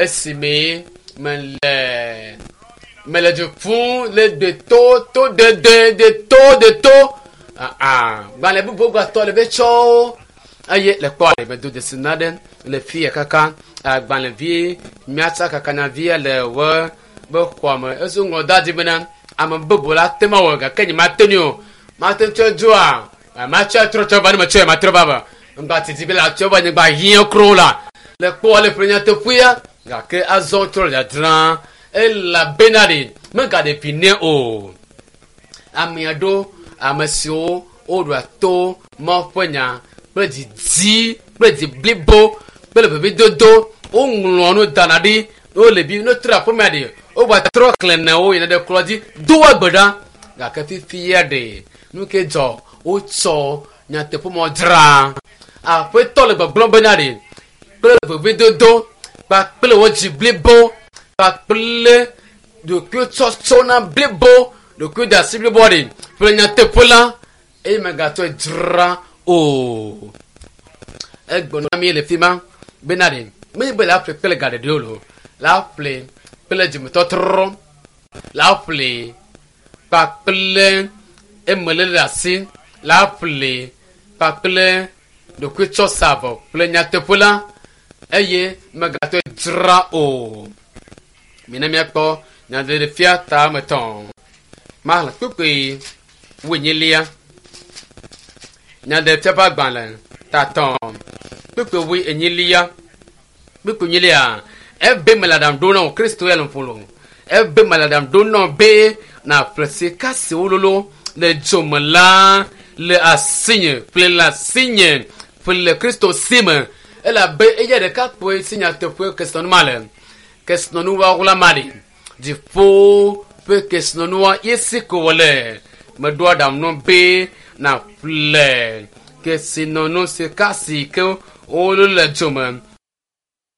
Esime mele mele du ƒum le deto to dede deto deto aa gbalẽ bubu gatɔ le be tsɔwo eye le kpɔ ale medo dzesi na ɖe le fi ya kaka agbalẽvi miatsa kakanavia le wo be xɔa me ezo ŋlɔ da di bena ame bubu la te ma wɔ gake nye mate ŋui o mate ŋu tsɔe dzoa matsɔe trɔ tsɔ va ne metsɔe matrɔ va va ŋgba titi be la tsɔ va nyigba hiã kro la le kpɔ le ƒe nyateƒea gake azɔ trɔ le dzadzra elabena ɖe megaɖe vi nɛ o. Ame aɖewo ame siwo woɖoa to Mawu ƒe nya kple didi kple dzi blibo kple vevidodo woŋlɔa nu dana ɖi ne wole bi ne wotrɔ aƒemea ɖe wogatrɔ xlẽna wo yina ɖe kplɔ dzi doa gbe ɖa gake fifia ɖe nu ke dzɔ wotsɔ nyateƒemɔ dzra aƒetɔ le gbɔgblɔm bena ɖe kple vevidodo kpakple wo dzi blibo kpakple ɖokuitsɔtsɔ na blibo ɖokuiɖasi blibo ɖe ƒle nyateƒe la eye megatsɔe dzra o. Egblɔ na mi le fi ma bena ɖe menye be la ƒle kple ga ɖeɖe o lo la ƒle kple dzimetɔtrɔ la ƒle kpakple emelele ɖe asi la ƒle kpakple ɖokuitsɔsavɔ kple nyateƒe la eye megatsɔe dzra o. Mina míakpɔ nyaɖeɖefia ta me tɔ̃. Maxlẽ kpukpui wuenyilia. Nyaɖeɖefia ƒe agbalẽ ta tɔ̃ kpukpui wuenyilia. Kpukpui enyilia ebe mele aɖaŋu ɖom na wò Kristo ya le ƒo lo. Ebe mele aɖaŋu ɖom na wò be nàƒle sika si wololo le dzo me la le asinye ƒle le asinye ƒle le Kristo si me elabe eya ɖeka kpoe si nyateƒe kesinɔnu ma le. Kesinɔnu wɔwɔla ma ɖi. Dziƒo ƒe kesinɔnua ye si ko wòle. Meɖo aɖaŋu nɔ be nàƒle kesinɔnu sika si ke wololo le dzo me.